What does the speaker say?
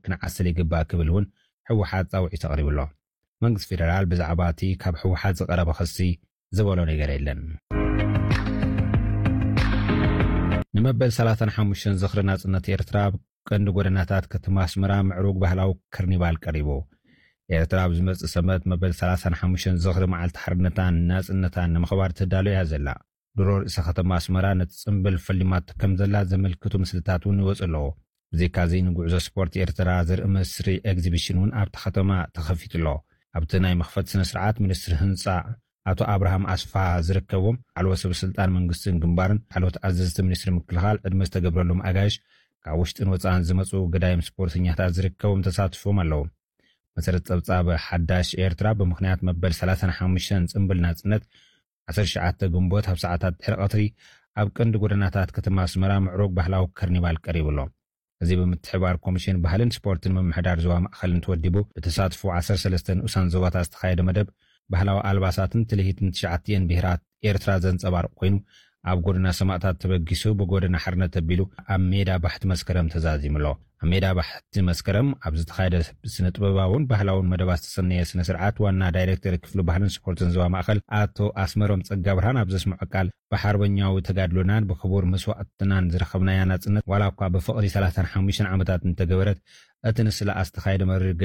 ክንዓስል ይግባእ ክብል እውን ህወሓት ፃውዒት ኣቕሪቡ ኣሎ። መንግስቲ ፌደራል ብዛዕባ እቲ ካብ ህወሓት ዝቐረበ ክሲ ዝበሎ ነገር የለን። ንመበል ሰላሳን ሓሙሽተን ዝኽሪ ናጽነት ኤርትራ ኣብ ቀንዲ ጎደናታት ከተማ ኣስመራ ምዕሩግ ባህላዊ ከርኒቫል ቀሪቡ። ኤርትራ ኣብ ዝመጽእ ሰንበት መበል ሰላሳን ሓሙሽተን ዝኽሪ መዓልቲ ሓርነታን ናጽነታን ንምኽባር ትዳሎ እያ ዘላ። ድሮ ርእሰ ከተማ ኣስመራ ነቲ ጽምብል ፈሊማቶ ከም ዘላ ዘመልክቱ ምስልታት እውን ይወጽእ ኣለዎ። ብዘይካዚ ንጉዕዞ ስፖርት ኤርትራ ዘርኢ መስርዕ ኤግዚቢሽን እውን ኣብታ ከተማ ተኸፊቱ ኣሎ። ኣብቲ ናይ መኽፈት ስነ ስርዓት ሚኒስትሪ ህንጻ ኣቶ ኣብርሃም ኣስፋ ዝርከቦም ላዕለዎት ሰብ ስልጣን መንግስትን ግንባርን ላዕለዎት ኣዘዝቲ ሚኒስትሪ ምክልኻል ዕድመ ዝተገብረሎም ኣጋይሽ ካብ ውሽጥን ወጻእን ዝመጹ ገዳይም ስፖርተኛታት ዝርከቦም ተሳትፎም ኣለዉ። መሰረት ጸብጻብ ሓዳሽ ኤርትራ ብምኽንያት መበል ሰላሳን ሓሙሽተን ጽምብል ናጽነት ዓሰርተ ትሽዓተ ግንቦት ኣብ ሰዓታት ድሕሪ ቀትሪ ኣብ ቀንዲ ጎደናታት ከተማ ኣስመራ ምዕሩግ ባህላዊ ከርኒቫል ቀሪቡ ኣሎ። እዚ ብምትሕባር ኮሚሽን ባህልን ስፖርትን ምምሕዳር ዞባ ማእኸልን ተወዲቡ ብተሳትፎ ዓሰርተ ሰለስተ ንኡሳን ዞባታት ዝተኻየደ መደብ ባህላዊ ኣልባሳትን ትልሂትን ትሽዓቲኤን ብሄራት ኤርትራ ዘንጸባርቕ ኮይኑ ኣብ ጎደና ሰማእታት ተበጊሱ ብጎደና ሓርነት ኣቢሉ ኣብ ሜዳ ባሕቲ መስከረም ተዛዚሙ ኣሎ። ኣብ ሜዳ ባሕቲ መስከረም ኣብ ዝተኻየደ ስነ ጥበባውን ባህላውን መደባት ዝተሰነየ ስነ ስርዓት ዋና ዳይሬክተር ክፍሊ ባህልን ስፖርትን ዞባ ማእኸል ኣቶ ኣስመሮም ጸጋ ብርሃን ኣብ ዘስምዖ ቃል ብሓርበኛዊ ተጋድሎናን ብክቡር መስዋእትናን ዝረኸብናያ ናጽነት ዋላ እኳ ብፍቕሪ ሰላሳን ሓሙሽተን ዓመታት እንተገበረት እቲ ንስለኣ ዝተኻየደ መሪር ገድሊ